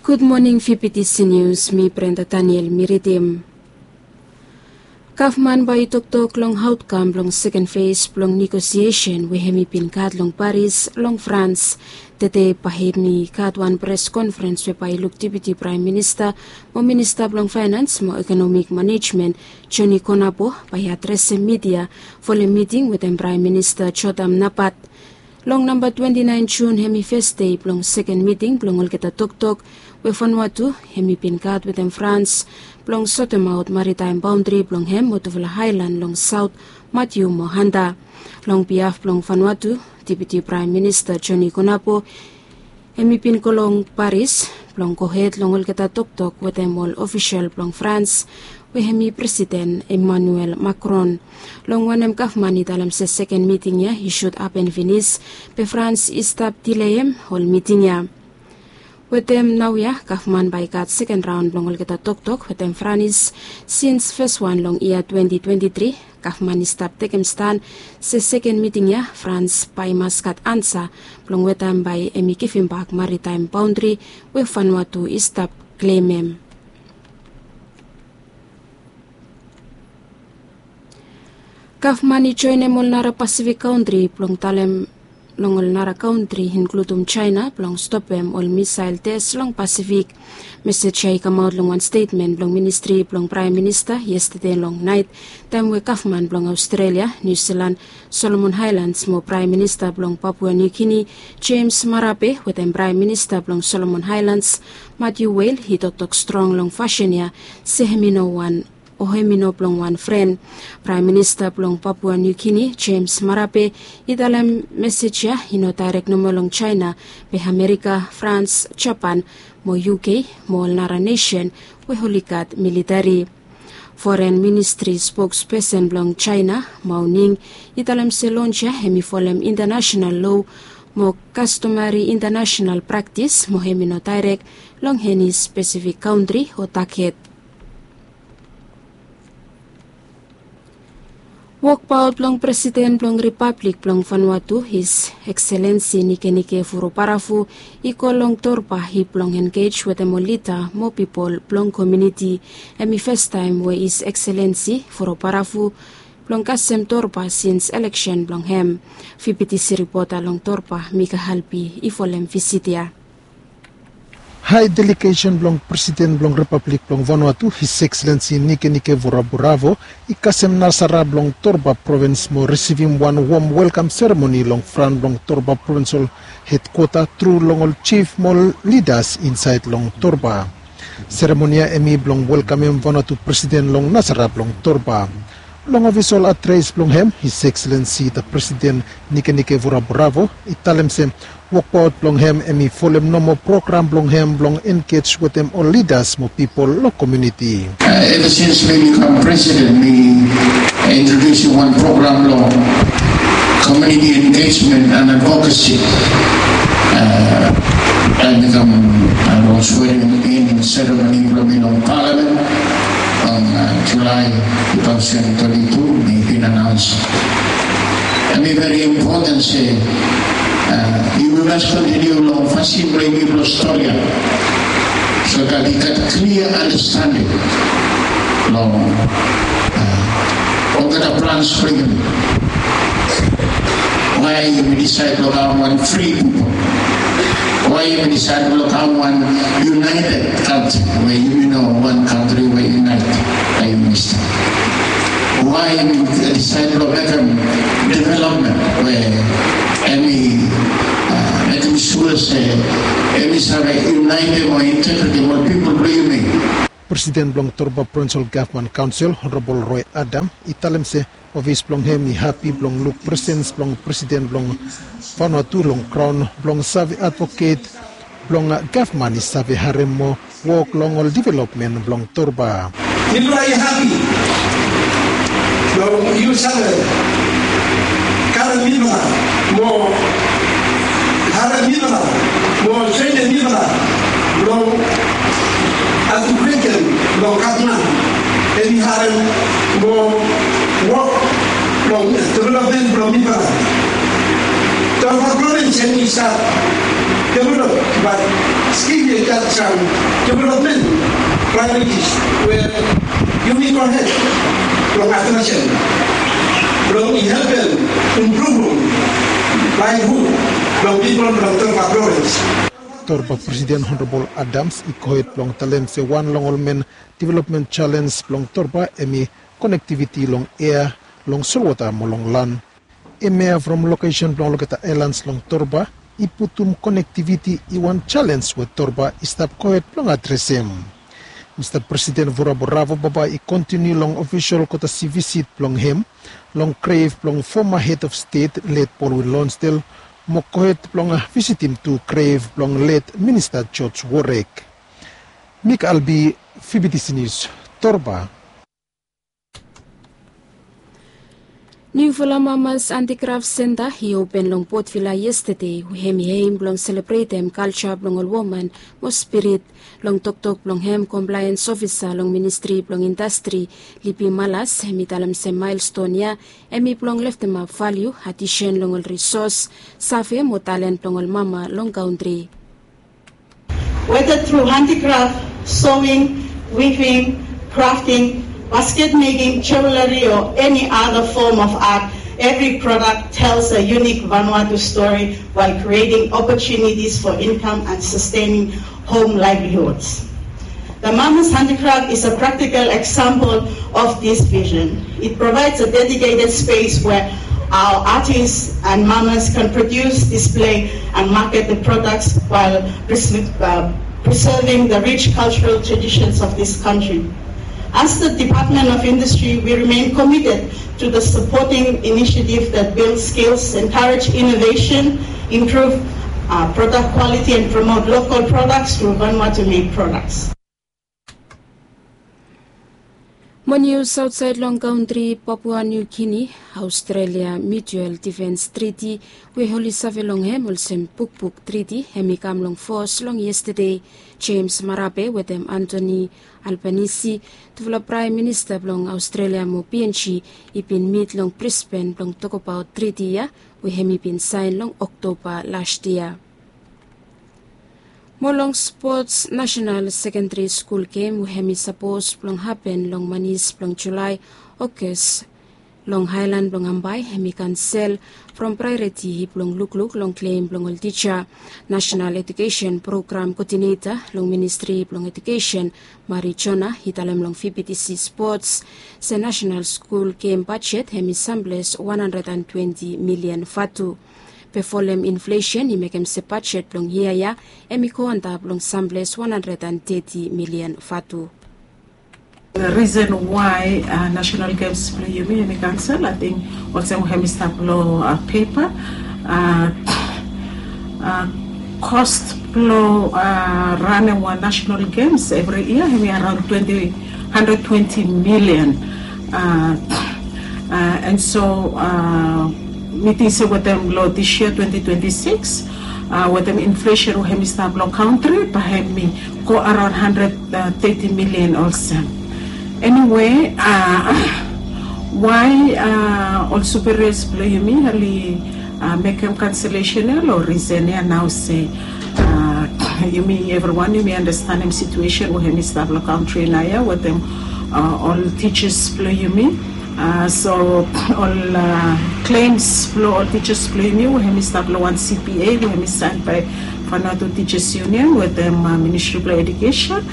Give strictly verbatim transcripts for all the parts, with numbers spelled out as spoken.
Gud moning, fifty C News, mi Brenda Daniel mi ridim. Gavman bae i toktok long aotkam blong seken fes blong negosiesen we hem i bin gat long Paris long Frans. Tede bae hem i gat wan pres konferens we bae i luk Deputi Praem Minista mo Minista blong Faenans mo Ekonomik Manejmen Joni Konabo bae i adresem midia folem miting wetem Praem Minista Jodam Napat. Long namba twenti naen Jun hem i fes dei blong seken miting blong olgeta toktok we Vanuatu hem i bin gat wetem Frans blong sotemaot maritaem baondri blong hem mo tufala aelan long saot, Matiu mo Hanta. Long biaf blong Vanuatu, Deputi Praem Minista Joni Konabo hem i bin go long Paris blong gohed long olgeta toktok wetem ol ofisol blong Frans we hem i Presiden Emmanuel Macron. Long wanem gavman i talem se seken miting ya i sud hapen finis, be Frans i stap dileem ol miting ya. Wetem naoia gavman bae i gat seken raon blong olgeta toktok wetem Frans sins fes wan long yia twenti twenti tri. Gavman i stap tekem stan se seken miting ya Frans bae i mas gat ansa blong weta hem bae hem i givimbak maritaem baondri we Vanuatu i stap klemem. Gavman i joenem ol nara Pasifik kantri blong talem long ol nara kantri, inkludum Jaena, blong stopem ol misael tes long Pasifik. Mesej ya i kamaot long wan stetmen blong ministri blong Praem Minista yestede long naet, taem we gavman blong Aostrelia, Niu Silan, Solomon Aelans mo Praem Minista blong Papua Niu Gini, Jems Marape, wetem Praem Minista blong Solomon Aelans, Matiu Wel, i toktok strong long fasin ya se hem i no wan o hem i no blong wan fren. Praem Minista blong Papua Niu Gini, Jems Marape, i talem mesej ya i no daerek nomo long Jaena, be Amerika, Frans, Japan mo U K mo ol nara nesen we oli gat militeri. Foren Ministri spokspesen blong Jaena, Mao Ning, i talem se lons ya hem i folem intanasenal loa mo kastomari intanasenal praktis mo hem i no daerek long eni spesifik kantri o taget. Wokbaot blong Presiden blong Ripablik blong Vanuatu, His Excellency Nikenike Vurobaravu, i go long Torba hip blong engej wetem ol lida mo pipol blong komuniti. Hem i fastaem we His Excellency Vurobaravu blong kasem Torba sins eleksen blong hem. Fifty C ripota long Torba, Mika Halpi, i folem visit ya. Hae delegesen blong Presiden blong Ripablik blong Vanuatu, His Excellency Nikenike Vurobaravu, i kasem nasara blong Torba provins mo risivim wan wom welkam seremoni long fran blong Torba provinsol hedkwota tru long ol jif mo ol lidas insaed long Torba. Seremoni ya hem i blong welkamem Vanuatu Presiden long nasara blong Torba. Long ofisol adres blong hem, His Excellency the President Nikenike Vurobaravu i talem se wokbaot blong hem hem i folem nomo program blong hem blong engej wetem ol lidas mo pipol long komuniti. Ever since mi kam presiden, mi introdusim wan program long community engagement and advocacy. Taem mi kam long swearing in ceremony blong mi long palamen long Julae two thousand twenty-two, mi bin anaons. Hem i veri impoten se yumi mas kontiniu long fasin blong yumi blong stori ya, so dat i gat klia andastanding long olgeta plans blong yumi. Wae yumi disaed blong kam wan fri pipol? Wae yumi disaed blong kam wan yunaeted kantri we yumi no wan kantri we yunaeted? Wae yumi disaed blong mekem developmen we hem i mekem sua se hem i save yunaetem o integretem ol pipol blong yumi? Presiden blong Torba Provinsol Gavman Kaonsel, Honorabol Roe Adam, i talem se ofis blong hem i hapi blong luk presens blong Presiden blong Vanuatu long graon blong save advoket blong gavman i save harem mo wok long ol developmen blong Torba. Mifala i hapi blong yu save karem mifala mo harem mifala mo trenem mifala blong advoket blong gavman, hem i harem mo wok long developmen blong mifala. Torba provins hem i stap develop, bat Give you that some development priorities where you need your help from attention from helping improving livelihood from people from Torba province. Torba Presiden Honorabol Adams i gohed blong talem se wan long ol men development jalens blong Torba hemi konektiviti long ea, long solwota mo long lan. Hemia from lokesen blong olgeta aelans long Torba i putum konektiviti i wan jalens we Torba i stap gohed blong adresem. Mista Presiden Vurabo Ravo bambae i kontiniu long ofisol kotasi visit blong hem long grev blong foma hed of stet let Baldwin Lonsdale mo gohed blong visitim tu grev blong let Minista George Worek. Mik Albi, Fibitisi Nius, Torba. Niufala Mamas Handicraft Center i open long Port Vila yestade, we hem i hem blong selebretem kalja blong ol woman mo spirit. Long toktok blong hem, compliance officer long Ministri blong Indastri, Lipi Malas, hem i talem se milestone ya hem i blong leftemap valiu, adisen long ol risos, save mo talen blong ol mama long kantri. Whether through handicraft, sewing, weaving, crafting, basket making, jewelry, or any other form of art, every product tells a unique Vanuatu story while creating opportunities for income and sustaining home livelihoods. The Mama's Handicraft is a practical example of this vision. It provides a dedicated space where our artists and mamas can produce, display, and market the products while pres- uh, preserving the rich cultural traditions of this country. As the Department of Industry, we remain committed to the supporting initiative that builds skills, encourage innovation, improve uh, product quality, and promote local products through Vanuatu-made products. Mo nius aotsaed long kantri, Papua New Guinea, Australia Mutual Defence Treaty, we oli save long hem olsem Bukbuk Treaty, hem i kam long fos long yestade. James Marape wetem Anthony Albanese, tufala Praem Minista blong Australia mo P N G, i bin mit long Brisbane blong tokbaot triti ya, we hem i bin saen long Oktoba las yia. Mo long spots, National Secondary School Game we hem i sapos blong hapen long manis blong Julae, Okos, long haelan blong Ambae hem i kansel from praeoriti blong lukluk long klem blong ol tija. National Education Program Koodineta long Ministri blong Edukesen, Mari Jona, i talem long V B T C Spots se National School Game bajet hem i samples wan handred an twenti milian vatu. Be folem inflesen i mekem se bajet blong yia ya hem i go antap long samples wan handred an teti milian vatu. Risen wae National Games blong yumi hem i kansel, ating olsem hem i stap long pepa. Kos blong ranem wan National Games evri yia hem i araon twenti, handred twenti milian. An so mi ting se wetem long dis yia twenti twenti sikis, wetem inflesen we hem i stap long kantri, bae hem i go araon handred teti milian olsem. Eniwe, wae ol superias blong yumi oli mekem kanselesen ya long risen ya nao se yumi evriwan yumi andastanem situesen we hem i stap long kantri naoia wetem ol tijas blong yumi. So ol klems blong ol tijas blong yumi we hem i stap long wan C P A we hem i saen bae Vanuatu Teachers Union wetem Ministri blong Edukesen.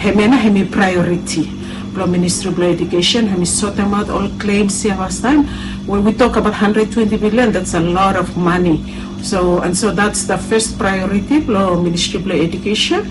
Hemia nao hem i praeoriti blong Ministri blong Edukesen, hem i sotemaot ol klems ya fastaem. When we tok abaot handred twenti milian, that's a lot of money. So, and so that's the first priority blong Ministri blong Edukesen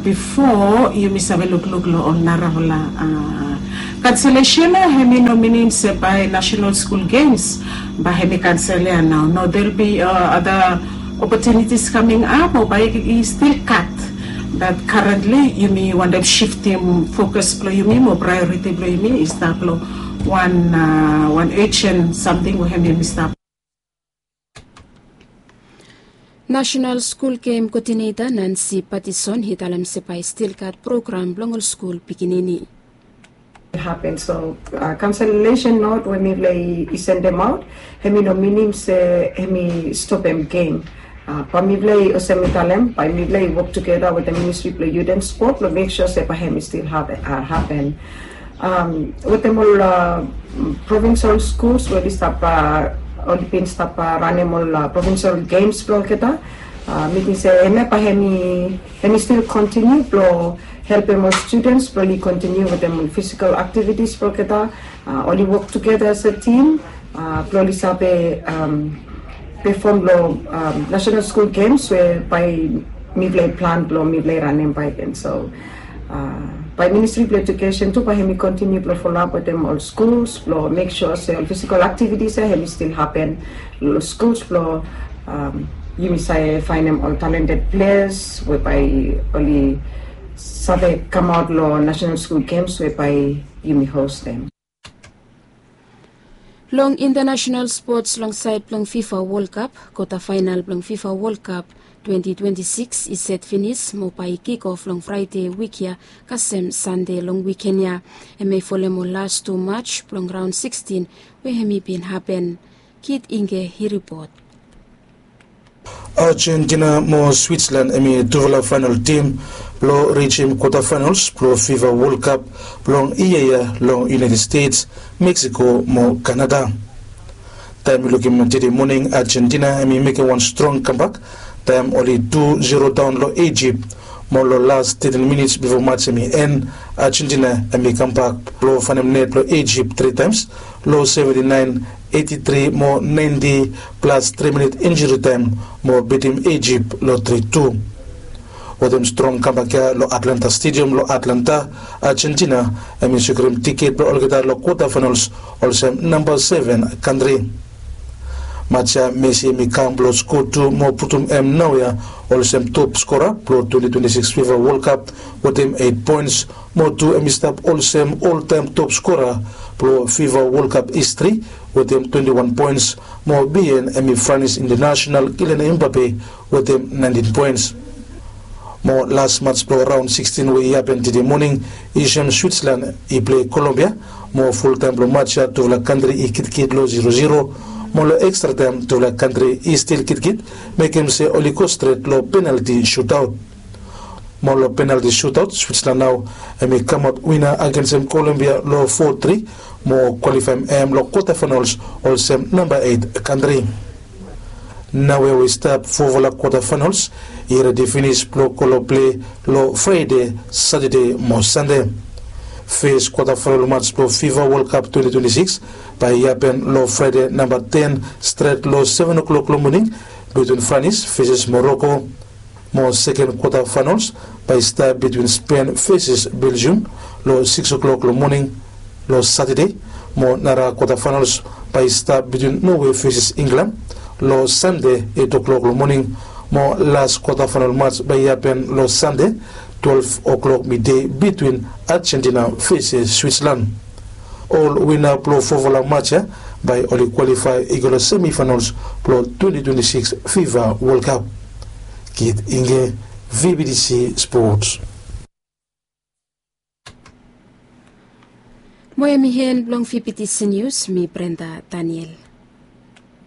bifo yumi save lukluk long ol narafala kanselesen ya. Hem i no minim se bae National School Games bae hem i kansel ya nao. No, there'll be other opportunities coming up o bae i stil gat. But currently yumi wantem siftim fokus blong yumi mo praeoriti blong yumi i stap long wan, wan urgent samting we hem yumi stap. National School Game Koodineta Nancy Patison i talem se bae i stil gat program blong ol skul pikinini. Hapen so kanselesen not we mifala i sendemaot, hem i no minim se hem i stopem gem. Bae mifala i olsem mi talem, bae mifala i wok tugeta wetem ministri blong yut and spot blong mek sua se bae hem i stil hapen. Wetem ol provinsal skuls we oli stap, oli bin stap ranem ol provinsal gems blong olgeta, mi ting se hemia bae hem i stil kontiniu blong helpem ol studens blong oli kontiniu wetem ol fisikal aktivitis blong olgeta. Oli wok tugeta as a tim blong oli save pefom long national skul gems we bae mifala i plan blong mifala i ranem bae gen. So bae ministri blong ejukesen tu bae hem i kontiniu blong folap wetem ol skuls blong mek sua se ol fisikal aktivitis ya hem i stil hapen long skuls blong yumi save faenem ol talented ples we bae oli save kamaot long national skul gems we bae yumi hostem. Long international spots long saed blong fifa wolkap, kota faenal blong fifa wolkap twenti twenti sikis i set finis mo bae i kikof long fraede wik ya kasem sande long wiken ya. Hem i folem ol las tu mats blong raon sikstin we hem i bin hapen. Kit ingge i ripot. Ajentina mo switslan hem i tufala faenal tim blong rijim kota faenals blong fifa wolkap blong yia ya long yunaeted stets, meksiko mo kanada. Taem yu lukim tede moning ajentina hem i mekem wan strong kambak taem oli tu zero daon long ejip, mo long las teten minits bifo mats hem i en, ajentina hem i kambak blong faenem net blong ejip tri taems long seventi naen, eti tri mo naenti plas tri minit injuri taem mo bitim ejip long tri tu. Wetem strong kambak ya long atlanta stediam long atlanta, ajentina hem i sekiurim tiket blong olgeta long kota faenals olsem namba seven kantri. Mats ya mesi hem i kam blong sko tu mo putum hem naoia olsem top skora blong twenti twenti sikis fifa wolkap wetem eit poens, mo tu hem i stap olsem oltaem top skora blong fifa wolkap histri wetem twenti wan poens, mo bihaen hem i franis intanasenal kilen embape wetem naentin poens. Mo las mats blong raon sikstin we i hapen tede moning i sem switslan i plei kolombia, mo fultaem blong mats ya tufala kantri i kitkit long zero zero, mo long ekstra taem tufala kantri i stil kitkit, mekem se oli go stret long penalti sutaot. Mo long penalti sutaot switslan nao hem i kamaot wina agensem kolombia long fo tri, mo kwalifaem hem long kota faenals olsem namba eit kantri. Naoia we i stap fofala kota faenals i redi finis blong go long plei long fraede, satade mo sande. Fes kota faenal mats blong fifa wolkap twenti twenti sikis bae i hapen long fraede namba ten stret long seven o'klok long moning, bitwin franis feses moroko. Mo seken kota faenals bae i stap bitwin spen feses beljium long sikis o'klok long moning long satade. Mo nara kota faenals bae i stap bitwin nowe feses inglan long sande eit o'klok long moning. Mo las kota faenal mats bae i hapen long sande twelef o'klok midei bitwin ajentina feses switslan. Ol wina blong fofala mats ya bae oli kwalifae i go long semifaenals blong twenti twenti sikis fifa wolkap. Kit ingge, vbtc spots. Mo hem i hen blong vbtc nius, mi brenda daniel.